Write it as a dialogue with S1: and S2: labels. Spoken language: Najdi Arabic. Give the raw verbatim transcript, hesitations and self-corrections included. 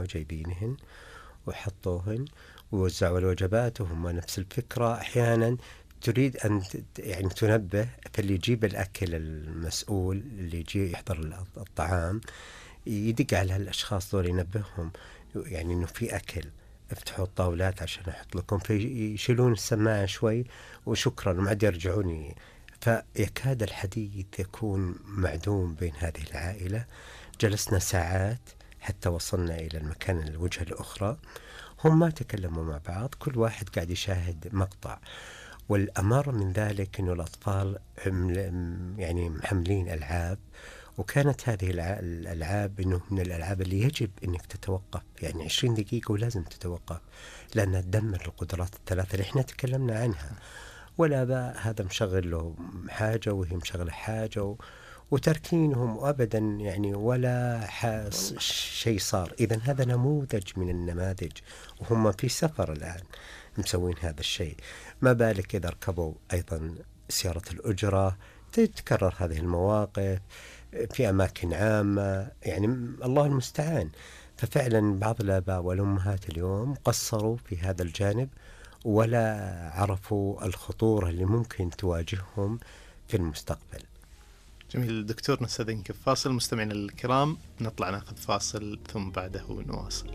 S1: جايبينهن وحطوهن ووزعوا الوجبات وهم نفس الفكرة. أحيانا تريد أن يعني تنبه، فاللي يجيب الأكل المسؤول اللي يجي يحضر الطعام يدق على الأشخاص دول ينبههم يعني إنه في أكل، افتحوا الطاولات عشان أحط لكم، فيشيلون السماعة شوي وشكرا وما عاد يرجعوني. فيكاد الحديث يكون معدوم بين هذه العائلة. جلسنا ساعات حتى وصلنا إلى المكان الوجهة الأخرى، هم ما تكلموا مع بعض، كل واحد قاعد يشاهد مقطع. والأمر من ذلك أنه الأطفال يعني محملين ألعاب، وكانت هذه الألعاب أنه من الألعاب اللي يجب أنك تتوقف يعني عشرين دقيقة ولازم تتوقف، لأنها تدمر القدرات الثلاثة اللي احنا تكلمنا عنها. والآباء هذا مشغل له حاجة وهي مشغلة حاجة و... وتركينهم أبدا يعني ولا شيء صار. إذن هذا نموذج من النماذج، وهم في سفر الآن مسوين هذا الشيء، ما بالك إذا ركبوا أيضا سيارة الأجرة تتكرر هذه المواقف في أماكن عامة، يعني الله المستعان. ففعلا بعض الآباء والأمهات اليوم قصروا في هذا الجانب ولا عرفوا الخطورة اللي ممكن تواجههم في المستقبل.
S2: جميل دكتور، نستأذنك فاصل. مستمعينا الكرام نطلع ناخذ فاصل ثم بعده نواصل.